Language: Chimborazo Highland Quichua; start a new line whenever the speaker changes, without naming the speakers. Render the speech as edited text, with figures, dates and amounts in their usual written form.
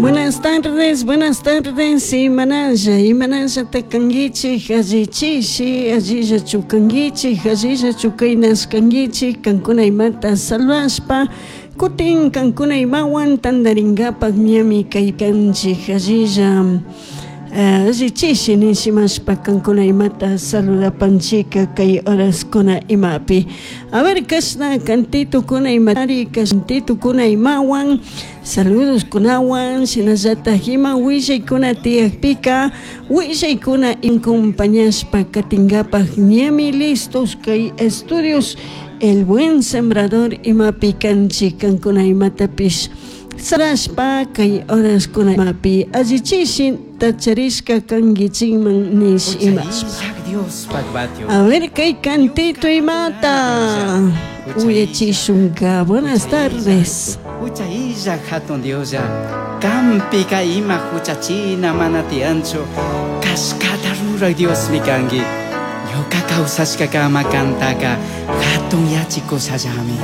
Buenas tardes, buenas tardes, imanalla, imanalla takanguichik, allichishi, allilla chukanguichik, allilla chukaynas kanguichik, kankuna imata salvashpa, kutin kankuna imawan tantarinkapak ñami kaykanchik, allilla allichishi nishimashpa kankuna imata saludapanchika kay horaskuna imapi. A ver, kashna kantitukuna imari, kantitukuna imawan, saludos kunawan, shinallatak ima willaykuna tiyakpika, willaykuna acompañashpa katinkapak ñami listos kay estudios El Buen Sembrador imapi kanchik kankuna imatapish sarashpa kay horaskuna imapi allichishin tacharishka kankichikman nish imashpa. A ver kay cantito imata uyachishunka. Buenas tardes.
Hucha illaj hatun Dioslla, kanpika ima huchachina mana tiyanchu, kashkata ruraj Diosmi kanki. Ñuka kawsashkakama kantaka hatun yachikushallami.